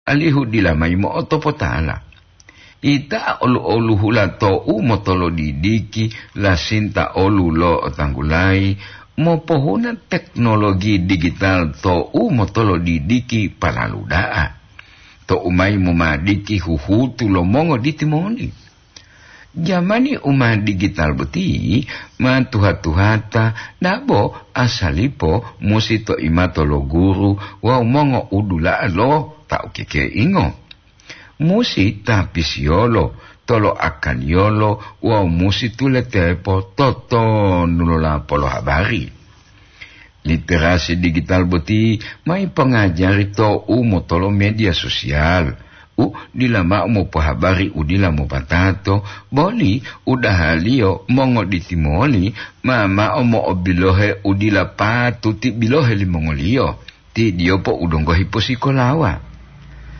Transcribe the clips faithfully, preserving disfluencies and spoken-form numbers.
alihu dila mayi mo'otopotala. Ita olu-oluhula to'u motolodidiki lasinta olu lo otanggulayi, mopohuna teknologi digital to'u motolodidiki palalu da'a. To'u mayi momadiki huhutu lo mongo ditimoli. Jamani u ma digital boti ma tuha-tuhata, dabo asalipo musi to imato lo guru wawu mongo udula'a lo ta ukekeingo. Musi tapisiyolo, toloakaliyolo wawu musi tuletepo totonu lo lapolo habari. Literasi digital boti ma ipongajari to'u motolo media sosial, u dila mao mopohabari u dila mopatato, boli udahaliyo mongoditimoli ma mao mo'obilohe u dila patuti bilohe limongoliyo, ti diyopo u donggo hiposikolawa.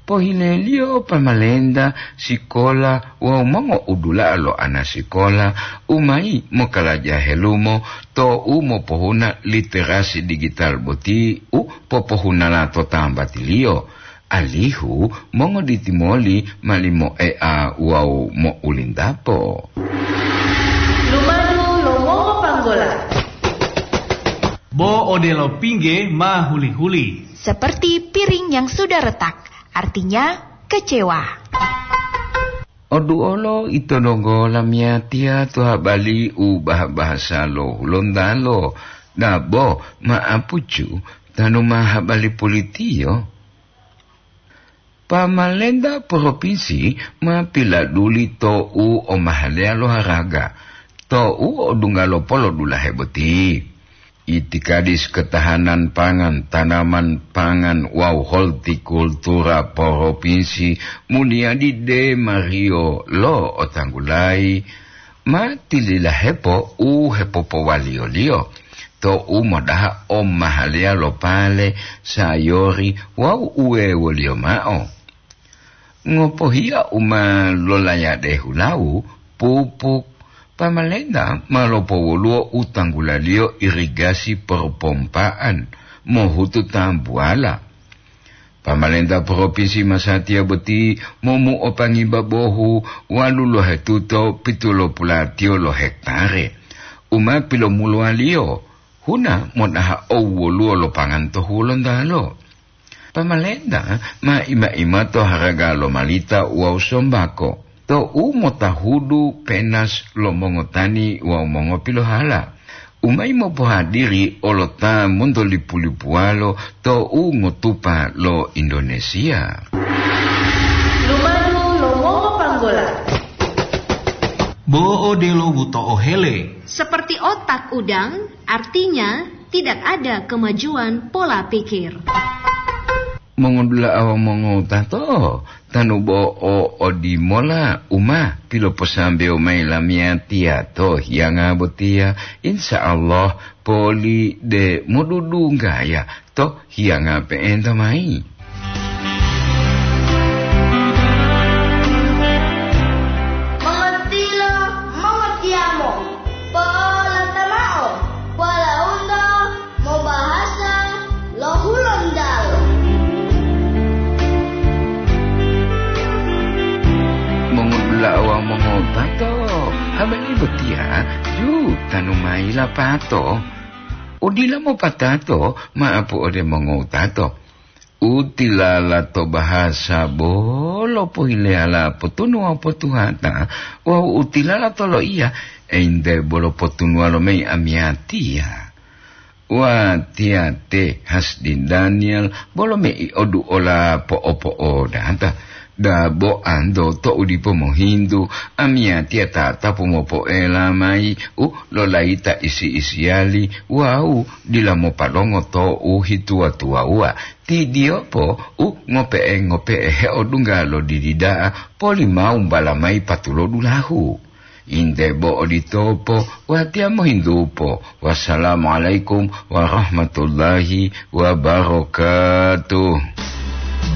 Pohileliyo pamalenta, sikola wawu mongo'udula'a lo ana sikola u mayi mokalaja helumo to'u mopohuna literasi digital boti u popohunala to tambatiliyo, alihu mongoditimoli ma limoea wawu mo'ulindapo. Lumadu lo mongopanggola. Bo odelo pingge ma huli-huli. Seperti piring yang sudah retak, artinya kecewa. Oduolo ito donggo lamiyatiya to habali u bah-bahasa lo Hulontalo, dabo ma'apucu tanu ma habali pulitiyo. Pamalenta propinsi ma piladuli to'u o mahaleya lo haraga, to'u o dungga lo polodulahe boti. Itikadis ketahanan pangan, tanaman pangan wawu holtikultura propinsi muniyadi demariyo lo otanggulayi ma tililahepo u hepopowaliyoliyo to'u modaha o mahaleya lo pale, sayori wawu uwewoliyo mao. Ngopohiya u ma lolayade hulawu, pupuk, pamalenta ma lopowoluwo u tanggulaliyo irigasi perpompaan mohutu tambuwala. Pamalenta propinsi masatiya boti momu'opangiba bohu walu lohetuto pitulopulatiyo lo hektare u ma pilomuluwaliyo huna modaha owoluwo lo pangan to Hulontalo. Pamalenta ma ima-ima to haraga lo malita wawu sombako, to'u motahudu penas lo mongotani wawu mongopilohala, u mayi mopohadiri olo ta montolipu-lipuwalo to'u ngotupa lo Indonesia. Lumadu lo mongopanggola. Bo odelo buto ohele. Seperti otak udang, artinya tidak ada kemajuan pola pikir. Mongodula'a wawu mongowutato, tanu bo o odimola u ma piloposambewo mayi lamiyatiya to hiyanga botiya, insya Allah poli de modudunggaya to hiyanga pe'enta mayi. Mongotilo, mongotiyamo, po'olata mao, walaundo mobahasa lo Hulontalo. Mongodula'a wawu mongotato, habari botiya ju tanu mayi lapato. Udila mopatato ma'apu ode mongotato. U tilala to bahasa bolo pohileyala potunuwa potuhata, wawu u tilala to loiya, ente bolo potunuwa lo mayi amiyatiya. Watiya te Hasdi Daniel bolo mei oduola po'opo'odata. Dabo anto to'u dipo mohintu, amiyatiya tatapu mopoela mayi u lolayita isi-isiyali wawu dila mopadongo to'u hituwa-tuwawuwa. Ti diyopo u ngope'e-ngope'e heodungga lo didi da'a poli ma wumbala mayi patulodulahu. Inde bo oditopo, watiya mohintupo. Wassalamualaikum warahmatullahi wabarakatuh.